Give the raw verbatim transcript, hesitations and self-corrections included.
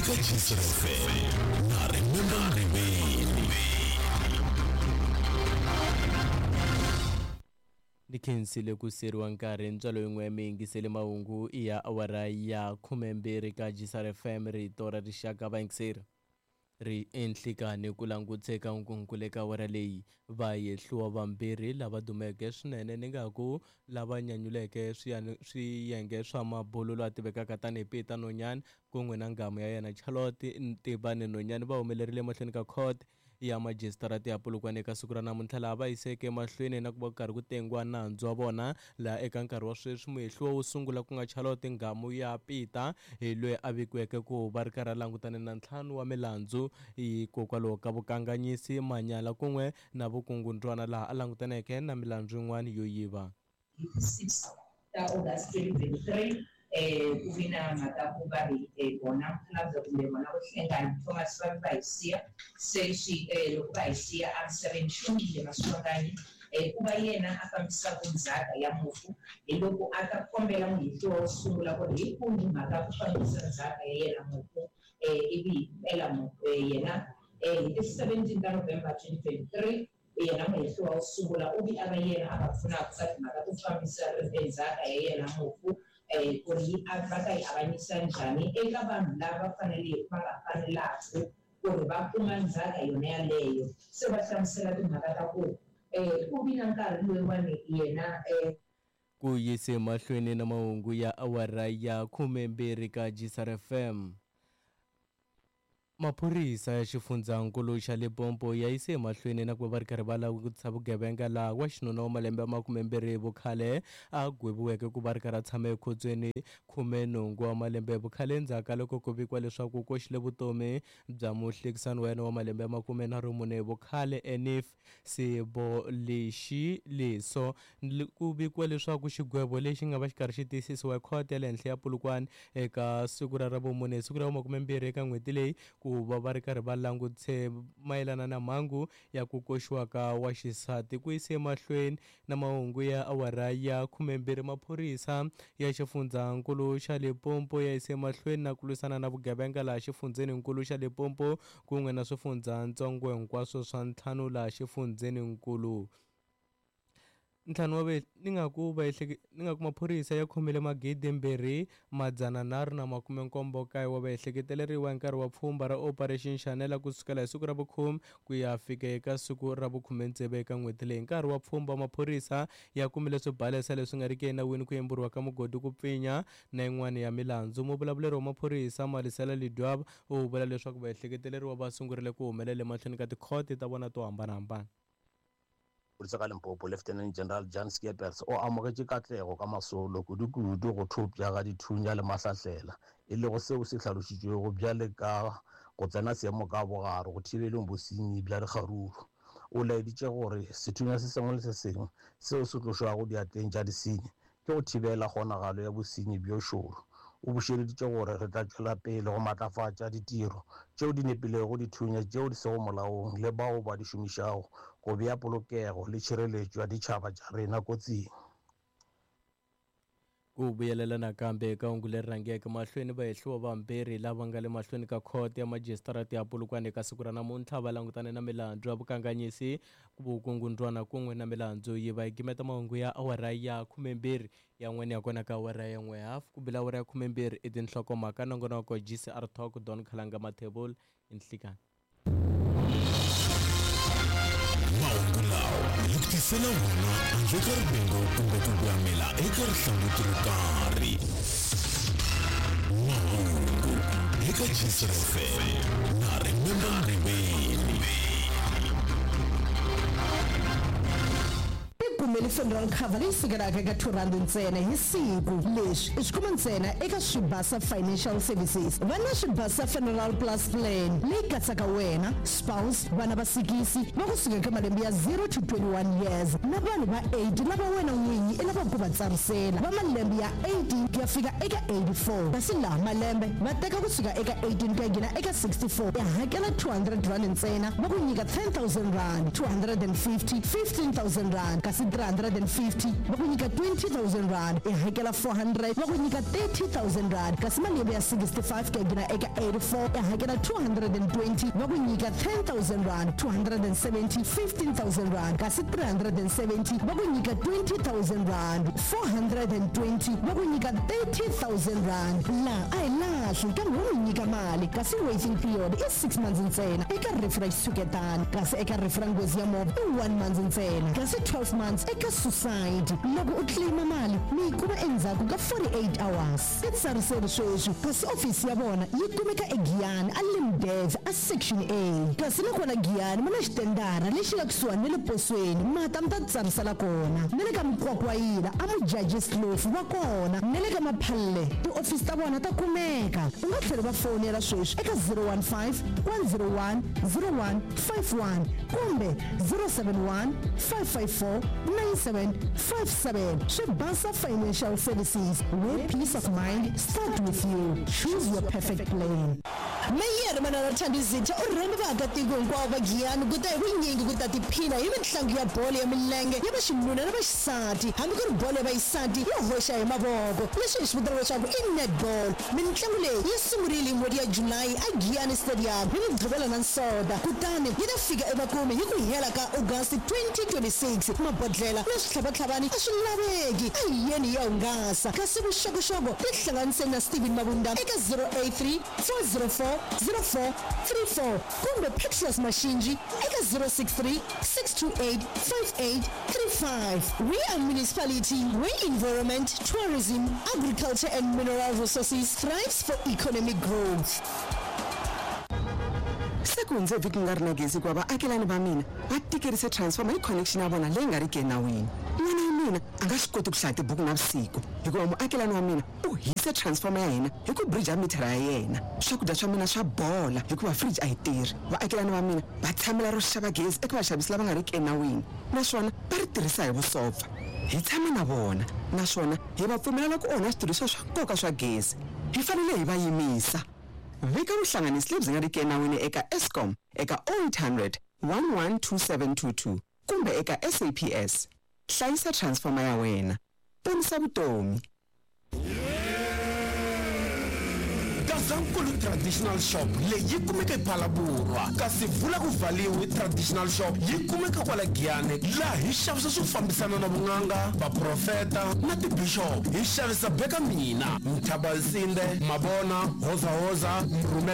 eka G C R F M na Remember Ngoveni. Ni khensile ku seriwa nkarhi ntswalo yin'we mi yingisele mahungu ya awara ya khumembirhi ka G C R F M rito ra rixaka vayingiseri ri enhlikani ku languteka nkunkulu eka awara leyi va yehliwa vambirhi lava dumeke swinene ni nga ku lava nyanyuleke swiyenge swa mabulu loyi a tivekaka tanihi Peter Nonyane kun'we na nghamu ya yena Charlotte Ntibane Nonyane va humelerile emahlweni ka court ya majisitarata ya Polokwane eka siku ra namuntlha laha va yiseke emahlweni na ku va karhi ku tengiwa nandzu wa vona laha eka nkarhi wa sweswi muhehliwa wo sungula ku nga Charlotte nghamu ya Peter hi loyi a vikiweke ku va ri karhi a langutane na ntlhanu wa milandzu hikokwalaho ka vukanganyisi manyala kun'we na vukungundzwana laha a langutaneke na milandzu yin'wana yo yiva. six ta August twenty twenty-three eh ku vi na mhaka ku va ri vona mukhalabye kumbe vona vo Hlengani Thomas va va hi siya se swi loko va hi siya emisaveni Xongile Maswanganyi ku va yena a fambisaka ndzhaka ya mufu hi loko a ta kombela muhehliwa wo sungula ku ri hi kumbi mhaka ku fambisa ndzhaka ya yena mufu ivi hi mpela yena hi ti seventeen ta November twenty twenty-three yena muhehliwa wo sungula u vi a va yena a va pfunaka ka timhaka to fambisa ndzhaka ya yena mufu ku ri va ta yi avanyisa njhani eka vanhu lava faneleke va nga fanelaka ku ri va kuma ndzhaka yona yaleyo se va hlamusela timhaka ta ku ku vi na nkarhi loyiwani yena ku yise mahlweni na mahungu ya awara ya khumembirhi ka G C R F M. Maphorisa ya xifundzankulu xa Limpopo ya yise emahlweni na ku va va ri karhi va langutisa vugevenga laha wa xinuna wa malembe ya makumembirhi vukhale a gweviweke ku va ri karhi a tshama ekhotsweni khumenhungu wa malembe vukhale endzhaku ka loko ku vikiwa leswaku u koxile vutomi bya muhlekisani wa yena wa malembe ya makumenharhu mune vukhale Enif Sibolexi Leso. Ku vikiwa leswaku xigwevo lexi nga va xi karhi xi tiyisisiwa hi khoto ya le henhla ya Polokwane eka siku ra ravumune siku ra vumakumembirhi eka n'hweti leyi ku va va ri karhi va langutise mayelana na mhangu ya ku koxiwa ka wa xisati. Ku yise emahlweni na mahungu ya awara ya khumembirhi maphorisa ya xifundzankulu xa Limpopo ya yise emahlweni na ku lwisana na vugevenga laha xifundzeninkulu xa Limpopo kun'we na swifundzatsongo hinkwaswo swa ntlhanu laha xifundzeninkulu. Ntlhanu wa ni nga ku va ni nga ku maphorisa ya khomile magidi mbirhi madzana nharhu na makume nkombo kaye wa vaehleketeleriwa hi nkarhi wa pfhumba ra Operation Shanela kusukela hi siku ra vukhume ku ya fika eka siku ra vukhume tsevu eka n'hweti leyi. Nkarhi wa pfhumba maphorisa ya kumile swibalesa leswi nga riki enawini ku yemburiwa ka mugodi ku pfinya na yin'wana ya milandzu. Muvulavuleri wa maphorisa Malisela Lidwaba u vula leswaku vaehleketeleriwa va sungurile ku humelela emahlweni ka tikhoti ta vona to hambanahambana. Maphodisa ka Limpopo Lieutenant General Jan Skeepers o amogetše katlego ka masolo kudu-kudu go thopša ga dithunya le mahlahlela e lego seo se hlalošitšwego bjale ka go tsena seemo ka bogare go thibeleng bosenyi bja dikgaruru. O laeditše gore sethunya se sengwe le se sengwe seo se tlošwago diatleng tša disenyi ke go thibela kgonagalo ya bosenyi bjo šoro. O bušeleditše gore re tla tšwela pele go matlafatša ditiro tšeo di nepilego dithunya tšeo di sego molaong le bao ba di šomišago go bea polokego le tšhireletšo ya ditšhaba tša rena kotsing. Ku vuyelela nakambe eka hungu leri rhangeke mahlweni vahehliwa vambirhi lava nga le mahlweni ka khoto ya majisitarata ya Polokwane eka siku ra namuntlha va langutane na milandzu ya vukanganyisi vukungundzwana kun'we na milandzu yi va yi gimeta mahungu ya awara ya khumembirhi yan'wana ya kona ka awara ya n'we hafu ku bila awara ya khumembirhi i tinhlokomhaka nongonoko G C R Talk Don Khalanga Mathebula i nhlikani. Mahungu lawa hi ku tisela wona handle ka rivengo kumbe ku gwamela eka rihlanguti ro karhi. Mahungu eka G C R F M na Remember Ngoveni. Kumele funeral cover leyi sukelaka eka two rand ntsena hi siku. Leswi i swi kuma ntsena eka Swibasa Financial Services. Va na Swibasa Funeral Plus Plan leyi katsaka wena, spouse, vana va sikisi va kusuka eka malembe ya zero to twenty-one years na vanhu va eight lava wena n'winyi i lavaka ku va tsarisela va malembe ya eighteen ku ya fika eka eighty-four. Kasi laha malembe va teka kusuka eka eighteen ku ya nghena eka sixty-four ya hakela two hundred rand ntsena va ku nyika ten thousand rand, two hundred and fifty, fifteen thousand rand kasi three hundred hundred and fifty va ku nyika twenty thousand rand i hakela four hundred va ku nyika thirty thousand rand kasi malembe ya sixty five ku ya nghena eka eighty four i hakela two hundred and twenty va ku nyika ten thousand rand two hundred and seventy fifteen thousand rand kasi three hundred and seventy va ku nyika twenty thousand rand four hundred and twenty va ku nyika thirty thousand rand laha a hi lahli kambe wo mi nyika mali kasi waiting period i six months ntsena eka rifu ra xitshuketana kasi eka rifu ra nghozi ya movha i one month ntsena kasi twelve months eka suicide loko u claima mali mi yi kuma endzhaku ka forty-eight hours i tsariseri sweswi kasi ofisi ya vona yi kumeka eGiyani a Limdev a section A kasi nakona Giyani mi na xitendara lexi nga kusuhani na le posweni mata mi ta tsarisela kona na le ka Mukwakwayila a Mujaji Slofu va kona na le ka Maphalle tiofisi ta vona ta kumeka u nga tlhela va fonela sweswi eka zero one five one zero one zero one five one kumbe zero seven one five five four nine seven five seven Swibasa Financial Services, where peace of mind start with you. Choose your perfect plan. Meyere Manana Thandizitha u rhambe vaakatiko hinkwavo va Giyani ku ta hi vunyingi ku ta tiphina hi mitlangu ya bolo ya milenge ya vaxinuna na vaxisati hambi ku ri bolo ya vaxisati yo hoxa hi mavoko leswi hi swi vitanaka leswaku i netball mitlangu leyi yi sungurile hi n'hweti ya Julayi a Giyani Stadium hi Mugqivela na Nsoda kutani yi ta fika emakumu hi ku hela ka August twenty twenty-six mabodlela na switlhavatlhavani a swi laveki a hi yeni hi ya hungasa kasi vuxokoxoko tihlanganiseni na Steven Mabunda eka zero eight three four zero four zero four three four kumbe Petrus Mashinji eka zero six three six two eight five eight three five. We are municipality where environment, tourism, agriculture and mineral resources thrives for economic growth. Se ku hundze vhiki ku nga ri na gezi hikuva vaakelani va mina va tikerise transformer hi connection ya vona leyi nga riki enawini. N'wana wa mina a nga swi koti ku hlaya tibuku navusiku hikuva muakelani wa mina u hise transformer ya hina hi ku bridge mithara ya yena. Swakudya swa mina swa bola hikuva fridge a yi tirhi. Vaakelani va mina va tshamela ro xava gezi eka vaxavisi lava nga riki enawini naswona va ri tirhisa hi vusopfa. Hi tshama na vona naswona hi va pfumelela ku onha switirhisiwa swa nkoka swa gezi. Hi fanele hi va yimisa. Vika vuhlanganisi lebyi nga riki enawini eka Eskom eka oh eight hundred one one two seven two two kumbe eka S A P S. Hlayisa transformer ya wena. Ponisa vutomi. Gazankulu Traditional Shop leyi kumeka ePhalaborwa kasi vula ku valiwe Traditional Shop yi kumeka kwala Giyani laha hi xavisa swo fambisana na vun'anga vaprofeta na tibishop hi xavisa beka mina Mthabasinde Mabona Hoza Hoza Mrumela.